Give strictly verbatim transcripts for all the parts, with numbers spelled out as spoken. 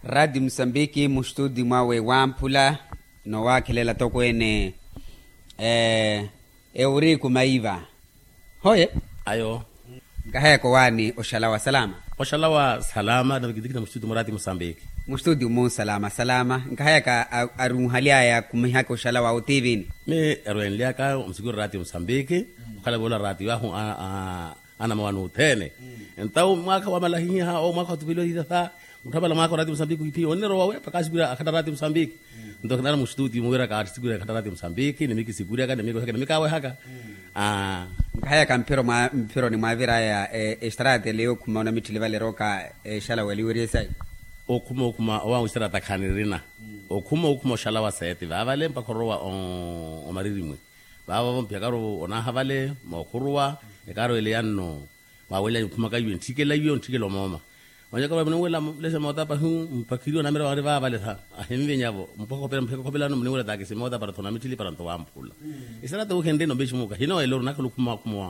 Raati musambiki mustudi mwawe wamphula, nowakhelela tokweene. Ewuriku maiva. Hoye. Ayo. Nkahayaka owaani oxalawa salama? Oxalawa salama navikitikhina mustudi mwa raati musambiki. Mustudi mu salama salama nkahayaka. Arunhalyaya khumihaka oxalawa otivini. Mi erwenlyaka omusikuru raati musambiki. Okhala voola raati yahu anamawani othene. Entawu mwaakha wamalahihiha owo mwaakha wathupeliwa hitatha. Mutthamala mwaakha oraati musambiki wiphiya onnerowa we pakasikwira akhatta raati musambiki. Nto khinala mustudi muwiraka atisikwira akhatta raati musambiki nimikisikuryaka nimikoheka nimikawehaka. Nkahayaka mphironi mwaviraya extratele yookhuma onamitthili vale erooka exalawa eliweriye sayi. Okhuma okhuma owa extrata khanirina. Okhuma okhuma oxalawa seeti vaavale mpakha orowa omaririmwe. Vaavavo mphiyakaru onaaha vale mookhuruwa. Ekaru ele yanno. Waawelelanya okhumaka iwe ntthikela iwe ontthikela omooma. Wanyaka vale munuwela mulese moota pahi mpakhiriwa namira wari vaavale tha. Ahinvinyavo mpakha okhopela mpheka okhopelano muniwela taakisi moota para tho namitthili para nto wamphula. Isarata wuhenrina ombexi muuka hinowelela ori nakhala okhuma okhuma.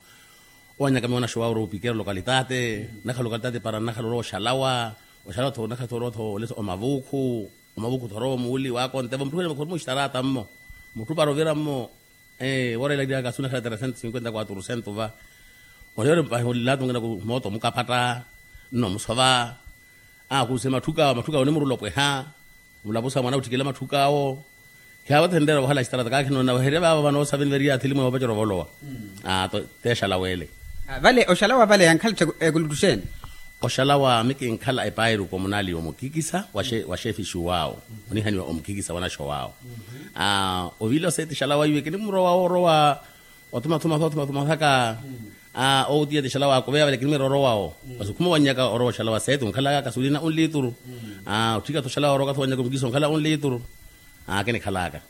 Owanyaka miwo naxowawe ori opikera lokalitate. Nakhala lokalitate para nakhala orowa oxalawa. Oxalawa tho nakhala tho orowa tho olesa omavuukhu. Omavuukhu tho orowa omuuli waakontevo mutthu wene mukhoruma oxtarata mmo. Mutthu para ovira mmo. Woorela iriaka asu nakhala tresento sinkwenta kwatru sento va. Oniyore mpahi olilatunga naku mooto omukaphatta nno omusova. Akuuse matthuka awo matthuka awo onimurula opweha. Mulapusa mwana utthikela matthuka awo. Khiyaavo thenreera vahala asitarata kaakhi noona vaherya vaavo vanoosaveni variya athili mwe oopacera ovolowa. Teexala weele. Vale oxalawa vale yankhala ekulutuxeeni? Oxalawa mikinkhala epairu komunali omukikisa wa xefixiwaawo. Onihaniwa omukikisa wanaxowaawo. Ovila oseeti xalawa iwe kinimurowa woorowa. Otumatuma otumatuma saka. Outiya ti xalawa akuveya vale kinimwira orowawo. Masi okhuma owanyaka orowa oxalawa seeti onkhalaka kasulina onlituru. Otthika tho oxalawa orowa kathi owanyaka omukikisa onkhala onlituru. Kinikhalaka.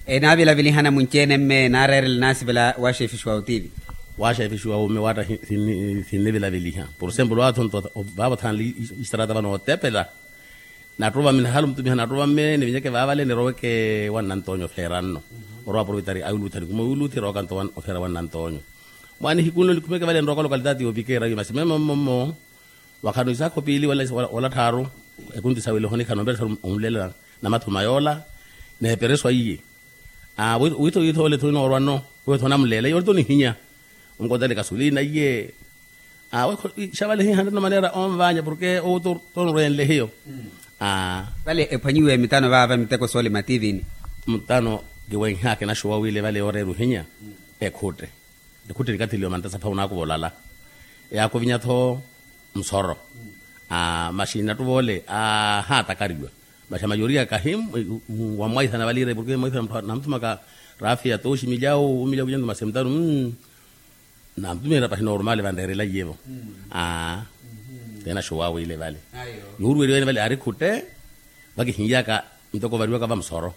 Enaavilavilihana munci-ene mme naareerela naasivela waxefixiwa otivi. Waxefixiwa omme waatta sinnivilaviliha. Por esemplo aatho nto vaavo thanle. Istarata vano ottepela. Nattuva mme nahala omutumiha nattuva mme nivinyeke vaavale niroweke wa nnantonyo ofeera nno. Orowa aproveitari ayuluthani khuma oyuluthi erowaka nto ofeera wa nnantonyo. Mwaana ehiku nno nikhumeke vale nirowaka lokalitati yoopikeera iyo masi memo mmommo. Wakhano isaakho piili wala tthaaru. Ekunti sawele ohonikhana ombela tharu onlela namathuma yoola. Neepereswa iye. Witho witho ole tho inoorwa nno. Witho onamulela iye ole tho onihinya. Onkontele kasulina iye. Awe xavale hihanre no manera onvanya porke owo tonrwenle hiyo. Vale ephwanyiwe mitano vaava miteko soole mativini. Mutano kiwenhaka enaxuwa wile vale yooreera ohinya. Ekhutte ekhutte nikathiliwa mantasa pha onaakuva olala. Eyaakuvinya-tho musoro. Maxi nattuva ole ahatakariwa. Maxi amayoriya kahi wamwaithana vale ire porke mwaithana namuthumaka rafiya tooxi milyawu omilyawu kinyanthu masi mutano. Namutumiherya pahi normal vanreerela iyevo. Aa. Tena xuwawu ile vale. Yuuruweriwa ene vale aari khutte. Vakihinlyaka ntoko ovariwaka vamusoro.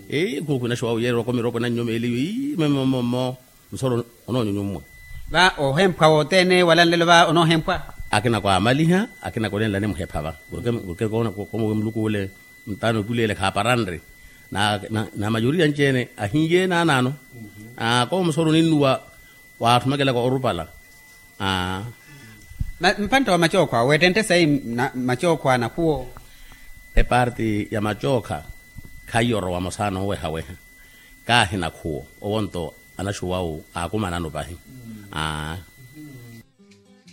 Eyi khukhwina xuwawu yeererwa komiroko nannyomeliwe ii mmomomo. Musoro onoonyunyummwe. Va ohemphwa wothene wala nlelo va onoohemphwa. Akina kwaamaliha akina konenlani muhepha va. Porke komowe muluku ule. Ntano epuleele khaaparanre. Na mayoriya anci-ene ahinye naanaano. Koomusoro oninnuwa. Waatthumekelaka orupala. Mpantta wa macookho awo weettentte sayi? Macookho a nakhuwo. Eparti ya macookha khaiyo orowa mosaana owehaweha. Kaahi nakhuwo owo nto anaxuwawu aakumanano pahi. Aa.